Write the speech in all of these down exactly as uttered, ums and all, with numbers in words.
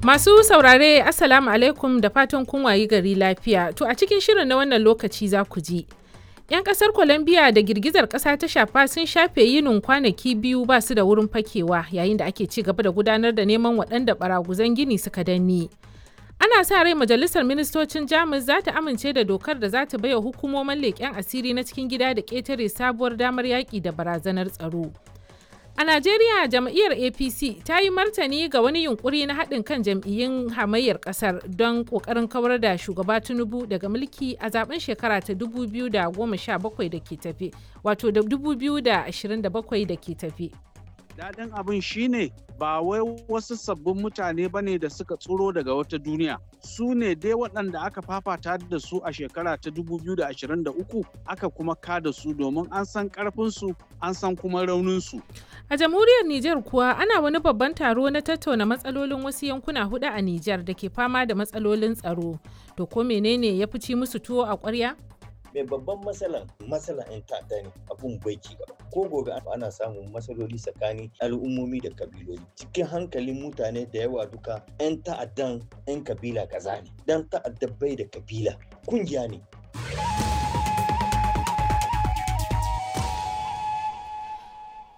Masu saurare, Assalamu alaikum, da fatan kun wayi gari lafiya. To, a cikin shirin na wannan lokaci za ku ji. 'Yan kasar Colombia da girgizar kasa ta shafa sun shafe yinin kwanaki biyu ba su da wurin fakewa yayin da ake ci gaba da gudanar da neman waɗanda baraguzan gini suka danne. Ana sa rai majalisar ministocin Jamus za ta amince da dokar da za ta baiwa hukumomin leƙen asiri na cikin gida da ƙetare sabuwar damar yaƙi da barazanar tsaro. A Najeriya, jam'iyyar A P C ta yi martani ga wani yunkuri na haɗin kan jam'iyyun hamayyar ƙasar don ƙoƙarin kawar da shugaba Tinubu daga mulki a zaben shekara ta dubu biyu da goma sha bakwai da ke tafe, wato da dubu biyu da ashirin da bakwai da ke tafe. Daɗin abin shine ba wai wasu sabbin mutane ba ne da suka tsuro daga wata duniya. Su ne dai waɗanda aka fafata da su a shekara ta dubu biyu da ashirin da uku aka kuma kada su, domin an san ƙarfinsu, an san kuma rauninsu. A jamhuriyar Nijar kuwa, ana wani babban taro na tattauna matsalolin wasu yankuna hudu a Nijar da ke fama da matsalolin tsaro. To, ko menene ya fi ci musu tuwo a ƙwarya? Mai babban matsalan matsalan 'yan ta'adda ne, abun bai ci gaba. Ko gobe ana samun matsaloli tsakanin al'ummomi da kabiloli. Cikin hankalin mutane da yawa duka 'yan ta'addan 'yan kabila kaza ne. Dan ta'adda bai da kabila, kungiya ne.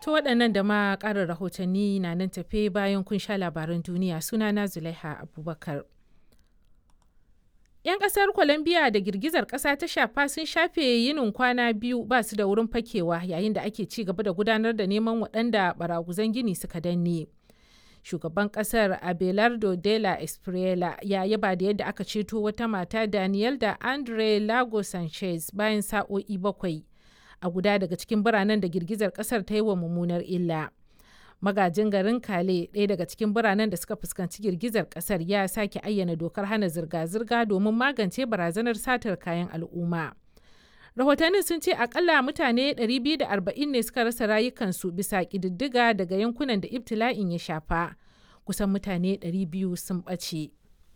To, waɗannan da ma ƙarin rahotanni na nan tafe bayan kun sha labaran duniya. Sunana Zulaiha Abubakar. 'Yan ƙasar Colombia da girgizar ƙasa ta shafa sun shafe yinin kwana biyu ba su da wurin fakewa yayin da ake ci gaba da gudanar da neman waɗanda baraguzan gini suka danne. Shugaban ƙasar Abelardo de la Espriella ya yaba da yadda aka ceto wata mata, Daniel da Andre Lago Sanchez, bayan sa'o'i bakwai a guda daga cikin biranen da girgizar ƙasar ta yi wa mummunar illa. Magajin garin Kale, ɗaya daga cikin biranen da suka fuskanci girgizar ƙasar, ya sake ayyana dokar hana zirga-zirga domin magance barazanar satar kayan al'umma. Rahotannin sun ce akalla mutane ɗari biyu da arba'in ne suka rasa rayukansu, bisa ƙididdiga daga yankunan da ibtila'in ya shafa. Kusan mutane ɗari biyu sun ɓace.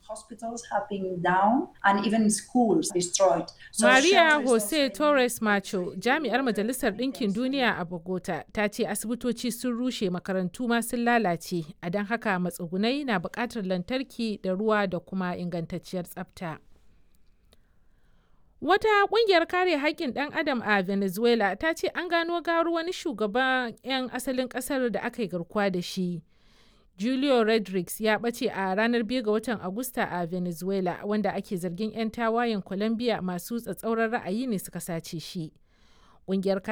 Hospitals have been down and even schools destroyed. So Maria Jose Torres Macho, jami'ar Majalisar Ɗinkin Duniya a Bogota, ta ce asibitoci sun rushe, makarantu ma sun lalace, a don haka matsugunai na buƙatar lantarki da ruwa da kuma ingantacciyar tsafta. Wata ƙungiyar kare haƙƙin ɗan adam a Venezuela ta ce an gano gawar wani shugaban 'yan asalin ƙasar da aka yi garkuwa da shi. Julio Rodriguez ya ɓace a ranar biyu ga watan Agusta a Venezuela, wanda ake zargin 'yan tawayen Colombia masu tsatsauran ra'ayi ne suka sace shi. Ƙungiyar